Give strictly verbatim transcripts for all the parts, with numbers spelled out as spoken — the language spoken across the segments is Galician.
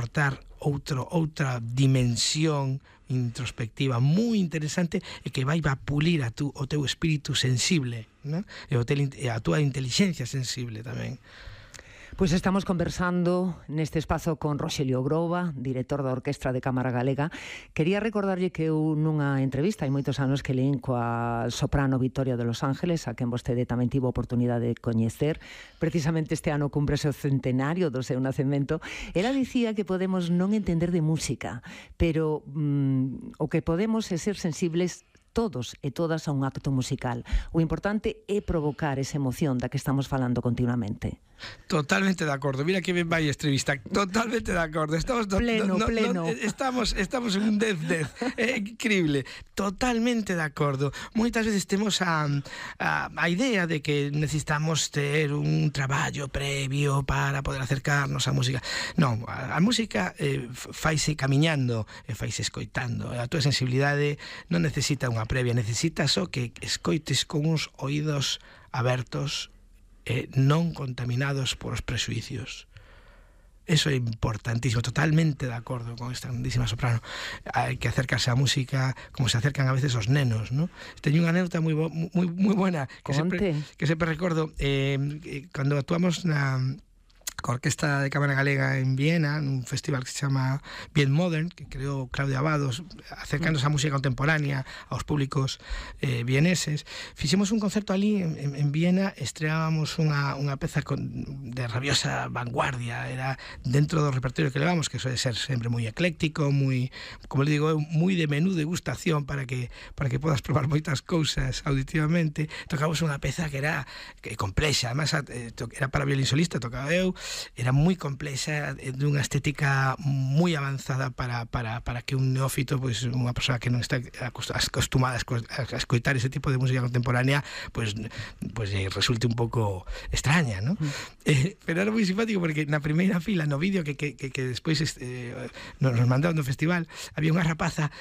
aportar outro, outra dimensión introspectiva moi interesante e que vai a pulir a tu, o teu espírito sensible, ¿no? E, o tel, e a túa inteligencia sensible tamén. Pois estamos conversando neste espazo con Roxelio Groba, director da Orquestra de Cámara Galega. Quería recordarlle que eu nunha entrevista hai moitos anos que leín coa soprano Victoria de Los Ángeles, a quen vostede tamén tivo oportunidade de coñecer. Precisamente este ano cúmprese o centenario do seu nacemento. Ela dicía que podemos non entender de música, pero mm, o que podemos é ser sensibles todos e todas a un acto musical. O importante é provocar esa emoción da que estamos falando continuamente. Totalmente de acordo. Mira que ben vai a entrevista. Totalmente de acordo. Estamos do, pleno, no, pleno. No, estamos estamos en un dez dez. É increíble. Totalmente de acordo. Moitas veces temos a, a a idea de que necesitamos ter un traballo previo para poder acercarnos á música. Non, a, a música eh, faise camiñando e faise escoitando. A túa sensibilidade non necesita unha previa, necesita só que escoites con uns oídos abertos e non contaminados por os presuicios. Eso é importantísimo, totalmente de acordo con esta grandísima soprano. Hai que acercarse á música como se acercan a veces os nenos, ¿no? Teño unha anécdota moi moi moi buena que sempre, que sempre recordo eh, cando actuamos na coa Orquestra de Cámara Galega en Viena, nun festival que se chama Bien Modern, que creou Claudia Abados, acercándose á música contemporánea aos públicos eh, vieneses. Fixemos un concerto ali en, en, en Viena, estreábamos unha, unha peza con, de rabiosa vanguardia, era dentro do repertorio que levamos, que suele ser sempre moi ecléctico, moi, como le digo, moi de menú degustación para que para que podas probar moitas cousas auditivamente. Tocamos unha peza que era que complexa, además era para violín solista, tocaba eu. Era moi complexa, dunha estética moi avanzada para, para, para que un neófito, pois unha persoa que non está acostumada a escoitar ese tipo de música contemporánea, pois, pois resulte un pouco extraña, ¿no? Mm. Eh, pero era moi simpático porque na primeira fila, no vídeo que, que, que, que despois eh, nos mandaron do festival, había unha rapaza,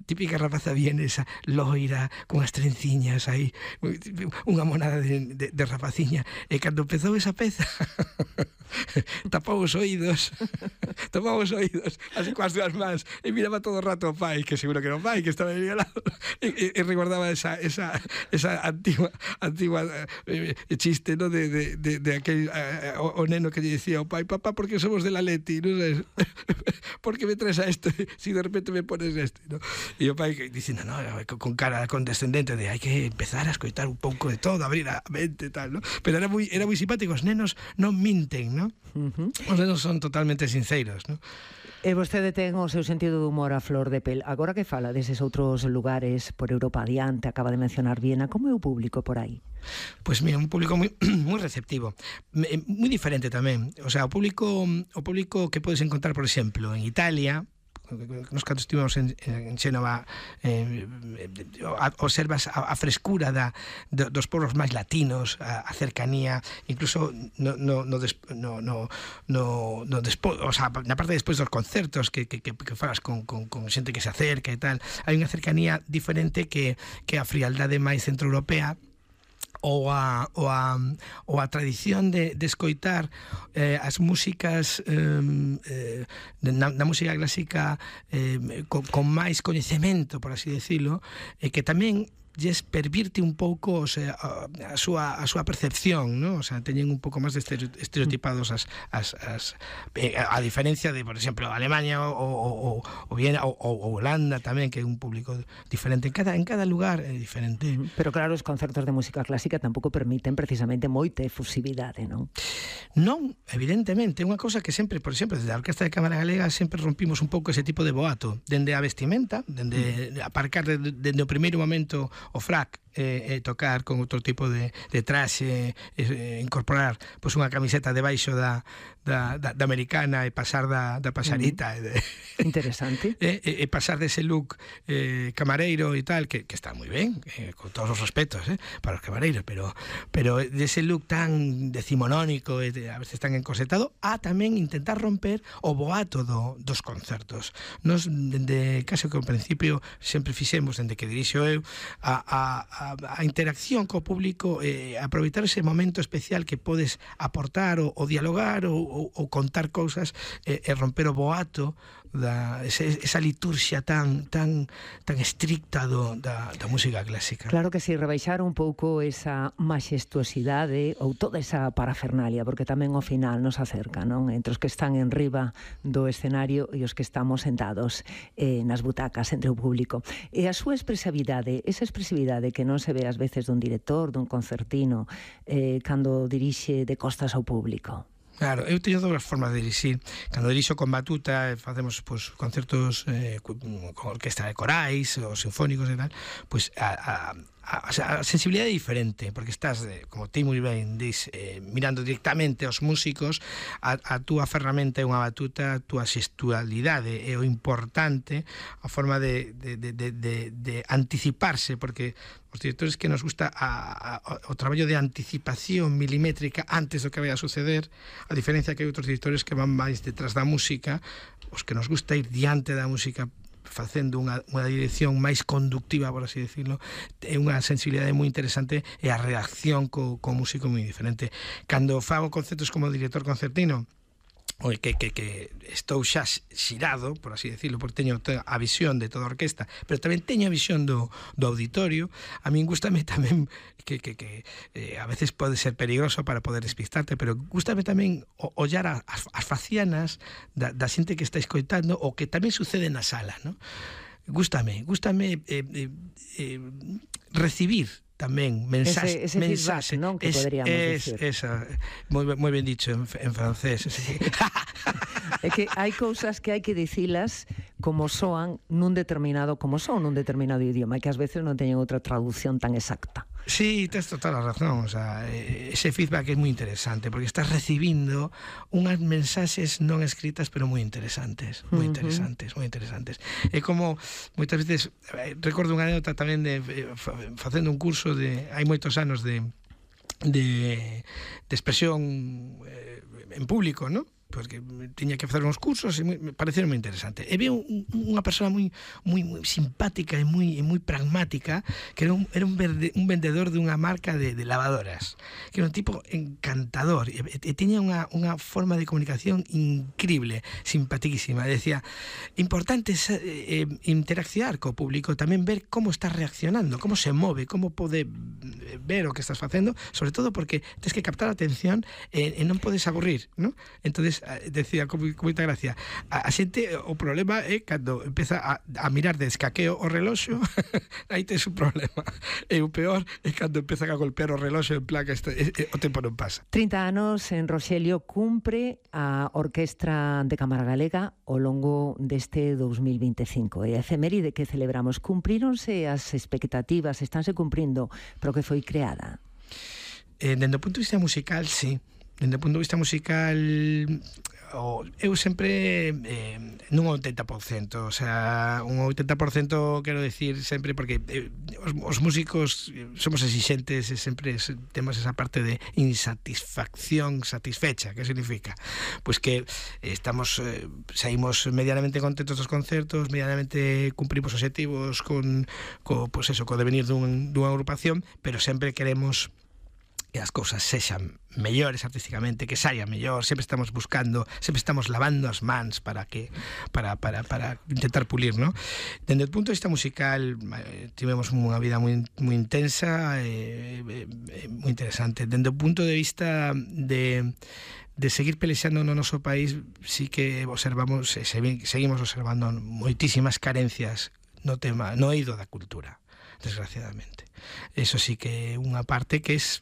típica rapaza vienesa, loira, con as trenciñas aí, unha monada de, de, de rapaciña, e cando empezou esa peza tapaba os oídos tapaba os oídos así coas dúas mans e miraba todo o rato o pai, que seguro que era o pai que estaba aí ao lado, e, e, e recordaba esa, esa, esa antigua antigua eh, chiste, ¿no? de, de, de, de aquel eh, o, o neno que lle dicía ao pai: papá, porque somos del Atleti, non sabes? ¿Por que me traes a esto si de repente me pones este, ¿no? E o pai dicindo, no, con cara condescendente de hai que empezar a escoitar un pouco de todo, abrir a mente e tal, ¿no? Pero era moi, era moi simpático, os nenos non minten, ¿no? Uh-huh. Os nenos son totalmente sinceros, ¿no? E vostede ten o seu sentido de humor a flor de pel. Agora que fala deses outros lugares por Europa adiante, acaba de mencionar Viena, como é o público por aí? Pois mira, un público moi moi receptivo, moi diferente tamén. O sea, o público o público que podes encontrar, por exemplo, en Italia, nos cando estivemos en, en Xénova, eh, observas a, a frescura da, de, dos povos máis latinos, a, a cercanía, incluso no, no, no, des, no, no, no, no despo, o sea, na parte despois dos concertos que, que, que, que falas con, con, con xente que se acerca e tal, hai unha cercanía diferente que, que a frialdade máis centroeuropea ou a, ou a, ou a tradición de, de escoitar eh, as músicas eh, na, na música clásica eh, con, con máis coñecemento, por así decirlo, e eh, que tamén lles pervirte un pouco, o sea, a, a súa a súa percepción, ¿no? O sea, teñen un pouco máis de estereotipados as, as, as eh, a diferencia de, por exemplo, Alemania ou, ou, ou Viena ou, ou Holanda tamén, que é un público diferente. En cada en cada lugar é diferente. Pero claro, os concertos de música clásica tampouco permiten precisamente moita efusividade, non? Non, evidentemente, é unha cousa que sempre, por exemplo, desde a Orquestra de Cámara Galega sempre rompimos un pouco ese tipo de boato, dende a vestimenta, dende aparcar dende o primeiro momento o frac, eh, eh, tocar con outro tipo de, de traxe, eh, incorporar pois unha camiseta debaixo da, da, da, da americana e pasar da, da pasarita. Mm. De, interesante. E, e, e pasar dese look eh, camareiro e tal, que, que está moi ben, eh, con todos os respetos eh, para os camareiros, pero, pero dese look tan decimonónico e de, a veces tan encosetado, a tamén intentar romper o boato do, dos concertos. Nos, dende case que ao principio sempre fixemos, dende que dirixo eu, a, a, a a, a interacción co público, eh, aproveitar ese momento especial que podes aportar ou, ou dialogar ou, ou, ou contar cousas e, e romper o boato da ese, esa liturxia tan tan tan estricta do, da, da música clásica. Claro que si, rebaixar un pouco esa maxestuosidade ou toda esa parafernalia, porque tamén ao final nos acerca, non? Entre os que están en riba do escenario e os que estamos sentados eh, nas butacas entre o público. E a súa expresividade, esa expresividade que non se ve ás veces dun director, dun concertino, eh, cando dirixe de costas ao público. Claro, eu teño dúas formas de dirixir. Cando dirixo con batuta, facemos pues, concertos eh, con orquestra de corais ou sinfónicos e tal, pues a, a, a, a sensibilidade é diferente, porque estás, eh, como ti moi ben dis, eh, mirando directamente aos músicos, a, a túa ferramenta é unha batuta, a túa xestualidade é o importante, a forma de, de, de, de, de, de anticiparse, porque os directores que nos gusta a, a, o traballo de anticipación milimétrica antes do que vai a suceder, a diferencia que hai outros directores que van máis detrás da música, os que nos gusta ir diante da música facendo unha, unha dirección máis conductiva, por así decirlo, é unha sensibilidade moi interesante e a reacción co, co músico moi diferente. Cando fago concertos como director concertino, Oi, que, que, que estou xa xirado, por así decirlo, porque teño a visión de toda a orquesta, pero tamén teño a visión do, do auditorio. A min gústame tamén que, que, que eh, a veces pode ser peligroso para poder despistarte, pero gústame tamén ollar as, as facianas da, da xente que está escoitando o que tamén sucede na sala, ¿no? Gústame, gústame eh, eh, eh, recibir tamén mensaxe, ese, ese mensaxe, feedback, non? Que es, poderíamos es, dicir. Esa, moi, moi ben dicho en, en francés. Sí. É que hai cousas que hai que dicilas como soan nun determinado, como son nun determinado idioma, e que ás veces non teñen outra traducción tan exacta. Sí, tens toda a razón, o sea, ese feedback é moi interesante porque estás recibindo unhas mensaxes non escritas pero moi interesantes, moi interesantes, moi interesantes. É como moitas veces recordo unha anécdota tamén de facendo un curso de hai moitos anos de de de expresión eh, en público, ¿no? Porque tiña que facer uns cursos e me pareceron moi interesante. E veo un, unha persona moi moi moi simpática e moi e moi pragmática, que era un era un, verde, un vendedor dunha marca de, de lavadoras, que era un tipo encantador e, e tiña unha unha forma de comunicación increíble, simpaticísima. Decía, importante é eh, interaccionar co público, tamén ver como está reaccionando, como se move, como pode ver o que estás facendo, sobre todo porque tens que captar a atención e, e non podes aburrir, ¿no? Entonces decía con moita gracia, a, a xente, o problema é cando empeza a, a mirar de escaqueo o reloxo, aí tes un problema, e o peor é cando empezan a golpear o reloxo en plan que este, e, e, o tempo non pasa. trinta anos en Roxelio cumpre a Orquestra de Cámara Galega ao longo deste dous mil vinte e cinco, e a efeméride que celebramos, cumpríronse as expectativas, estánse cumprindo para o que foi creada? Eh, dende o punto de vista musical, sí. Dende o punto de vista musical, o, eu sempre eh, nun oitenta por cento, o sea, un oitenta por cento quero decir sempre porque eh, os, os músicos somos exigentes e sempre temos esa parte de insatisfacción satisfecha. Que significa? Pois que estamos eh, saímos medianamente contentos dos concertos, medianamente cumprimos objetivos con, co, pues eso, co devenir dun, dunha agrupación, pero sempre queremos que as cousas sexan mellores artísticamente, que saia mellor, sempre estamos buscando, sempre estamos lavando as mans para que para, para, para intentar pulir, ¿no? Dende o punto de vista musical eh, tivemos unha vida moi, moi intensa e eh, eh, moi interesante. Dende o punto de vista de de seguir pelexando no noso país, sí que observamos, eh, seguimos observando moitísimas carencias no tema, no eido da cultura, desgraciadamente. Eso sí que é unha parte que es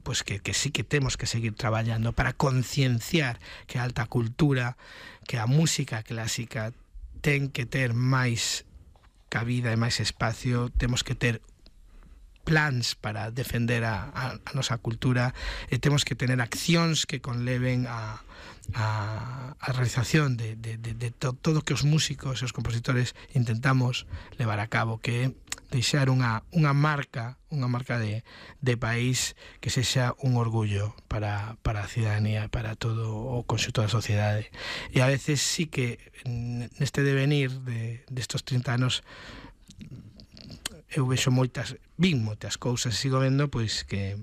pues que, que sí que temos que seguir traballando para concienciar que a alta cultura, que a música clásica ten que ter máis cabida e máis espacio, temos que ter plans para defender a, a, a nosa cultura e temos que tener accións que conleven a, a, a realización de, de, de, de to, todo o que os músicos e os compositores intentamos levar a cabo, que é deixar unha, unha marca unha marca de, de país que sexa un orgullo para, para a ciudadanía, para todo o conxunto da sociedade. E a veces sí que neste devenir de, destos trinta anos eu vexo moitas, vin moitas cousas e sigo vendo pois que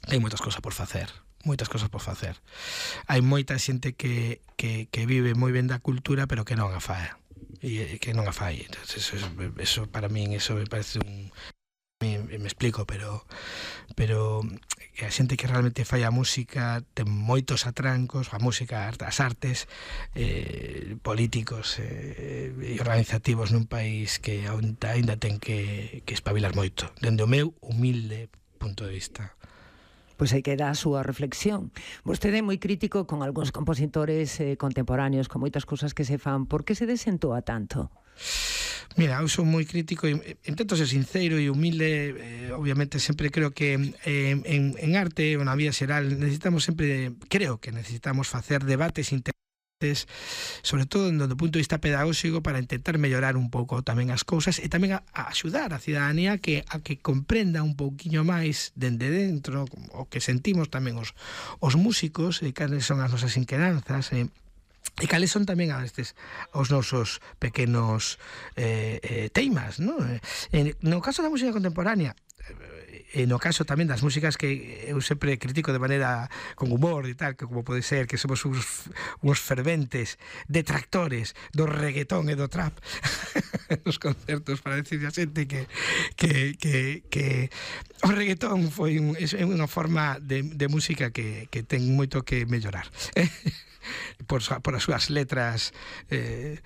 hai moitas cousas por facer, moitas cousas por facer. Hai moita xente que, que, que vive moi ben da cultura, pero que non a fai. E que non a fai. Eso, eso para min, eso me parece un... Me, me explico, pero pero que a xente que realmente fai a música ten moitos atrancos, a música, as artes, eh, políticos eh, e organizativos nun país que aínda ten que, que espabilar moito, dende o meu humilde punto de vista. Pois aí queda a súa reflexión. Vostede é moi crítico con algúns compositores eh, contemporáneos, con moitas cousas que se fan. Por que se desentoa tanto? Mira, eu sou moi crítico e intento ser sincero e humilde. eh, obviamente sempre creo que eh, en, en arte ou na vida xeral necesitamos sempre, creo que necesitamos facer debates interesantes, sobre todo do punto de vista pedagóxico, para intentar mellorar un pouco tamén as cousas e tamén a, a axudar a cidadanía que, a que comprenda un pouquiño máis dende dentro o que sentimos tamén os, os músicos e cales son as nosas inquedanzas e eh, E cales son tamén a estes os nosos pequenos eh, eh, teimas, non? Eh, no caso da música contemporánea, e no caso tamén das músicas que eu sempre critico de maneira con humor e tal, que como pode ser que somos uns, uns ferventes detractores do reggaetón e do trap nos concertos, para decir a xente que, que, que, que o reggaetón foi un, é unha forma de, de música que, que ten moito que mellorar. Por, por as súas letras eh,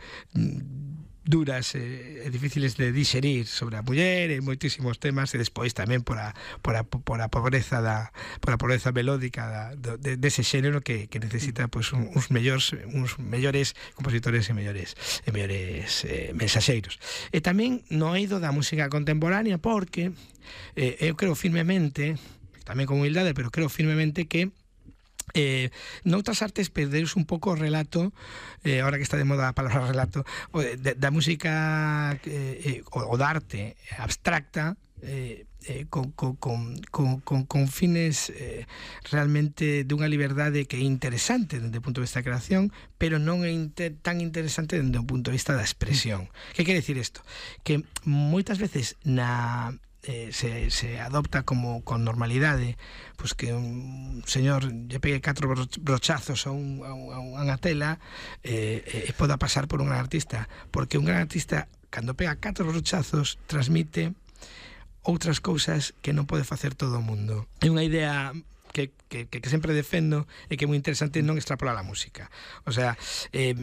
duras e eh, difíciles de digerir sobre a muller e moitísimos temas, e despois tamén por a, por a, por a pobreza da, por a pobreza melódica da, de, dese xénero que, que necesita pues, un, uns mellores uns mellores compositores e mellores e mellores eh, mensaxeiros. E tamén no eido da música contemporánea, porque eh, eu creo firmemente, tamén con humildade, pero creo firmemente que Eh, noutras artes perdeus un pouco o relato, eh, ahora que está de moda a palabra relato, o de, de, da música eh, o, o da arte abstracta, eh, eh, con, con, con, con, con fines eh, realmente dunha liberdade que é interesante dende o punto de vista da creación, pero non é inter, tan interesante dende o punto de vista da expresión. Que quere dicir isto? Que moitas veces na... Eh, se, se adopta como con normalidade pues que un señor lle pegue catro brochazos a, un, a, unha tela e eh, eh, poda pasar por un gran artista, porque un gran artista cando pega catro brochazos transmite outras cousas que non pode facer todo o mundo. É unha idea que, que, que sempre defendo e que é moi interesante non extrapolar a música. O sea, eh,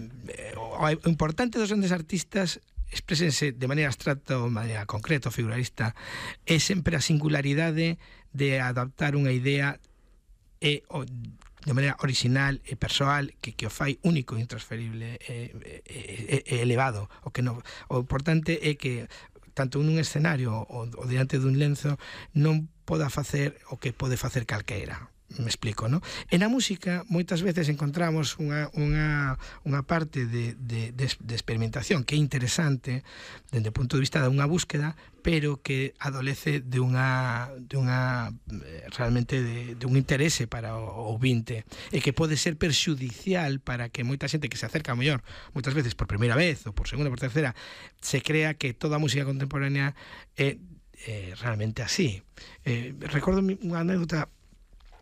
o importante dos grandes artistas exprésense de maneira abstracta ou de maneira concreta ou figuralista é sempre a singularidade de adaptar unha idea e o, de maneira original e persoal que, que o fai único e intransferible e, e, e elevado. O, que no, o importante é que tanto nun escenario ou, ou diante dun lenzo non poda facer o que pode facer calqueira. Me explico, ¿no? En a música moitas veces encontramos unha, unha, unha parte de, de, de, de experimentación que é interesante dende o punto de vista de unha búsqueda, pero que adolece de unha, de unha realmente de, de un interese para o ouvinte e que pode ser perxudicial para que moita xente que se acerca a mellor moitas veces por primeira vez ou por segunda ou por terceira se crea que toda a música contemporánea é, é realmente así. Eh, recordo unha anécdota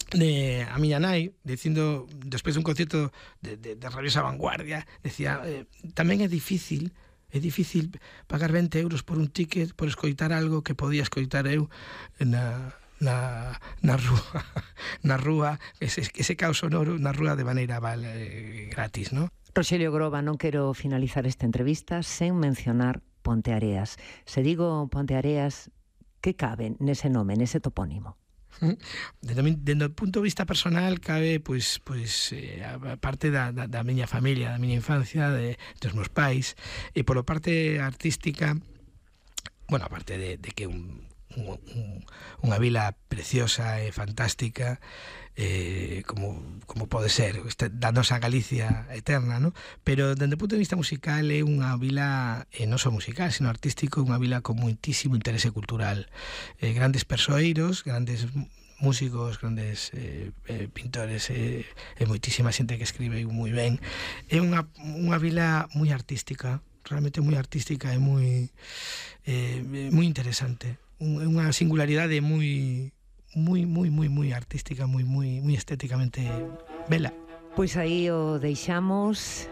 de a miña nai dicindo despois dun concierto de, de, de rabiosa vanguardia, decía eh, tamén é difícil é difícil pagar vinte euros por un ticket por escoitar algo que podía escoitar eu na, na, na rúa na rúa, ese, ese caos sonoro na rúa de maneira vale, gratis, ¿no? Roxelio Groba, non quero finalizar esta entrevista sen mencionar Ponteareas. Se digo Ponteareas, que cabe nese nome, nese topónimo? Dende o punto de vista personal cabe pois, pois, eh, a parte da, da, da miña familia, da miña infancia, de, dos meus pais, e polo parte artística, bueno, aparte de, de que un, un, un, unha vila preciosa e fantástica, eh, como, como pode ser esta, da nosa Galicia eterna, ¿no? Pero dende o punto de vista musical é unha vila, e non só musical, sino artístico, unha vila con moitísimo interese cultural, eh, grandes persoeiros, grandes músicos, grandes eh, eh, pintores e eh, moitísima xente que escribe moi ben. É unha, unha vila moi artística, realmente moi artística e moi eh, moi interesante. Unha singularidade moi moi moi moi moi artística, moi moi moi estéticamente bela. Pois aí o deixamos.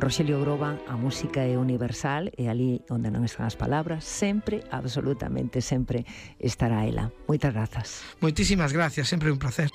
Roxelio Groba, a música é universal e ali onde non están as palabras sempre, absolutamente sempre estará ela. Moitas grazas. Moitísimas gracias, sempre un placer.